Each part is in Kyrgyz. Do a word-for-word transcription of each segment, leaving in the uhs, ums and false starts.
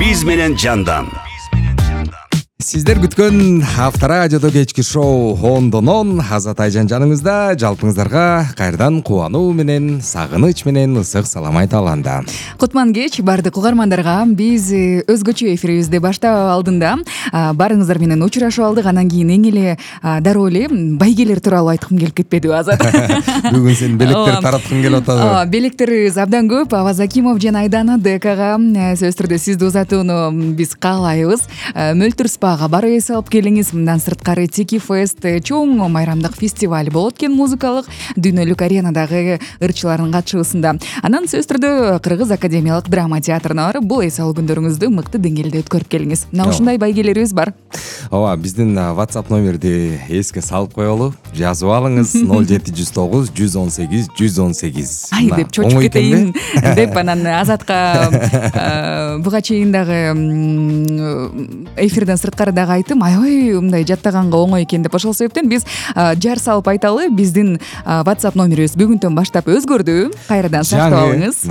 биз менен жандан. Сиздер күткөн Авторадиодо кечки шоу ондон он Азат Айжан жаныңызда. Жалпыңыздарга кайрадан кубануу менен, сагыныч менен ысык салам айта алганда. Кутман кеч бардык угармандарга. Биз өзгөчө эфирибизди баштап алдында барыңыздар менен учурашып алдык. Анан кийин эң эле дароо эле байгелер тууралуу айткым келип кетпедиби, Азат? Бүгүн сен белектер тараткың келип атабы? Белектерибиз абдан көп. Аваз Акимов жана Айдана Декага сөзсүз түрдө сизди узатууну биз каалайбыз. Мөлтүр спага барып эс алып келиңиз. Мындан сырткары Тики Фест чоң майрамдык фестиваль болот экен, музыкалык дүйнөлүк аренадагы ырчылардын катышуусунда. Анан сөзсүз түрдө Кыргыз академиялык драма театрына барып, бул эс алуу күндөрүңүздү мыкты деңгээлде өткөрүп келиңиз. Мына ушундай байгелерибиз бар. Ооба, биздин WhatsApp номерди эске салып коелу. Жазып алыңыз: ноль жети жүз тогуз жүз он сегиз жүз он сегиз. Ай деп чочуп кетейин деп анан Азатка буга чейин дагы эфирден сырткары дагы айттым. Аябай мындай жаттаганга оңой экен деп. Ошол себептен биз жар салып айталы. Биздин WhatsApp номерибиз бүгүнтөн баштап өзгөрдү. Кайрадан сактап алыңыз.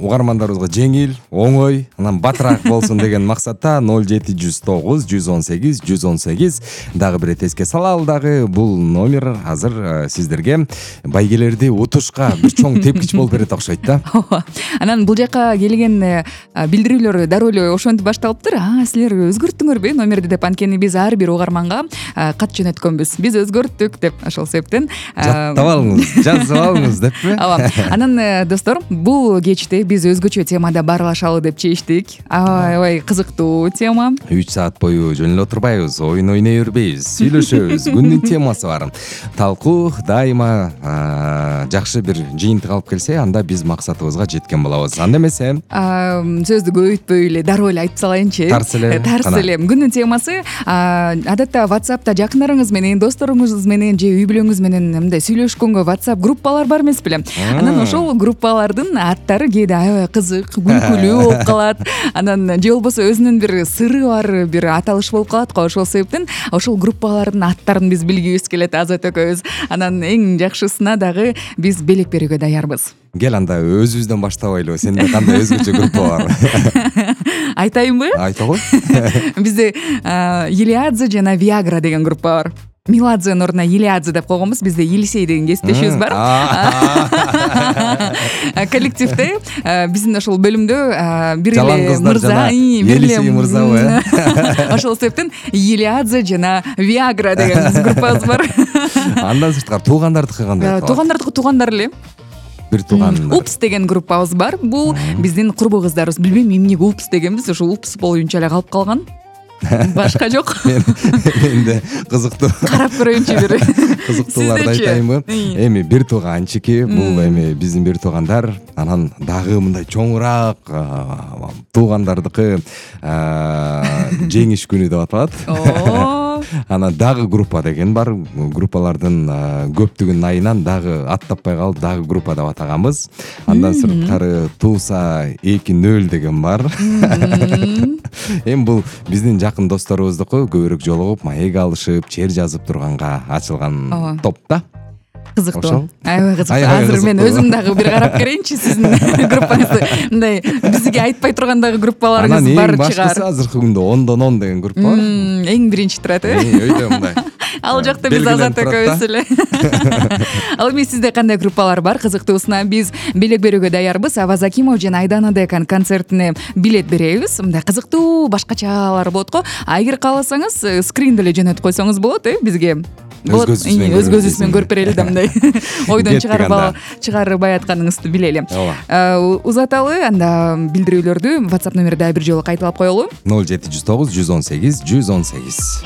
Угармандарыбызга жеңил, оңой, анан батыраак болсун деген максатта ноль жети жүз тогуз жүз он сегиз жүз он сегиз. Дагы бир эске салалы дагы, бул номер азыр сиздерге байгелерди утушка бир чоң тепкич болуп берет окшойт да. Ооба. Анан бул жака келген билдирүүлөр дароо эле ошентип башталыптыр. А, силер өзгөрттүңөрбү номерди деп? Анткени биз ар бир угарманга кат жөнөткөнбүз. Биз өзгөрттүк деп. Ошол себептен жаттап алыңыз, жазып алыңыз деппи? Ооба. Анан достор, бул кечте биз өзгөчө темада баарлашалы деп чечтик. Аябай кызыктуу тема. үч саат бою жөн эле отурбайбыз, оюн ойной бербейбиз, сүйлөшөбүз. Күндүн темасы бар. Талкуу дайыма жакшы бир жыйынтык алып келсе, анда биз максатыбызга жеткен болобуз. Анда эмесе, сөздү көбөйтпөй эле дароо эле айтып салайынчы. Тарс эле. Тарс эле. Күндүн темасы адатта WhatsApp'та жакындарыңыз менен, досторуңуз менен же үй бүлөңүз менен мындай сүйлөшкөнгө WhatsApp группалар бар эмес беле? Анан ошол группалардын аттары кээде аябай кызык, күлкүлүү болуп калат. Анан же болбосо өзүнүн бир сыры бар, бир аталыш болуп калат го. Ошол себептен ошол группалардын аттарын биз билгибиз келет, Азат экөөбүз. Анан эң жакшысына дагы биз белек берүүгө даярбыз. Кел анда өзүбүздөн баштабайлыбы? Сенде кандай өзгөчө группа бар? Айтайынбы? Айта кой. Бизде Елиадзе жана Виагра деген группа бар. Меладзенин ордуна Елиадзе деп койгонбуз. Бизде Елисей деген кесиптешибиз бар. Коллективде биздин ошол бөлүмдө бир эле мырза, бир эле мырзабы? Ошол себептен Елиадзе жана Виагра деген биздин группабыз бар. Андан сырткары туугандардыкы кандай? Туугандардыкы туугандар эле. Бир тууган. Упс деген группабыз бар. Бул биздин курбу кыздарыбыз. Билбейм эмнеге Упс дегенбиз, ошол Упс боюнча эле калып калган. Башка жок. Менде кызыктуу. Карап көрөйүнчү бир. Кызыктууларды айтайынбы? Эми бир тууганчики, бул эми биздин бир туугандар, анан дагы мындай чоңураак туугандардыкы жеңиш күнү деп аталат. Анан дагы группа деген бар. Группалардын көптүгүнүн айынан дагы ат таппай калып, дагы группа деп атаганбыз. Андан сырткары Туса эки нөл деген бар. Эми бул биздин жакын досторубуздуку, көбүрөөк жолугуп, маек алышып, чер жазып турганга ачылган топ да. Кызыктуу. Аябай кызыктуу. Азыр мен өзүм дагы бир карап көрөйүнчү сиздин группаңызды. Мындай бизге айтпай турган дагы группаларыңыз бар чыгар. Анан эң башкысы азыркы күндө ондон он деген группа бар. Эң биринчи турат, э? Өйдө мындай. Ал жакта биз Азат экөөбүз эле. Ал эми сизде кандай группалар бар? Кызыктуусуна биз белек берүүгө даярбыз. Аваз Акимов жана Айдана Деканын концертине билет беребиз. Мындай кызыктуу башкачалар болот го. Эгер кааласаңыз, скрин деле жөнөтүп койсоңуз болот, э, бизге. Өз көзүбүз менен көрүп берели да, мындай ойдон чыгарбай атканыңызды билели. Узаталы анда билдирүүлөрдү WhatsApp номери дагы бир жолу кайталап коелу. ноль жети жүз тогуз жүз он сегиз жүз он сегиз.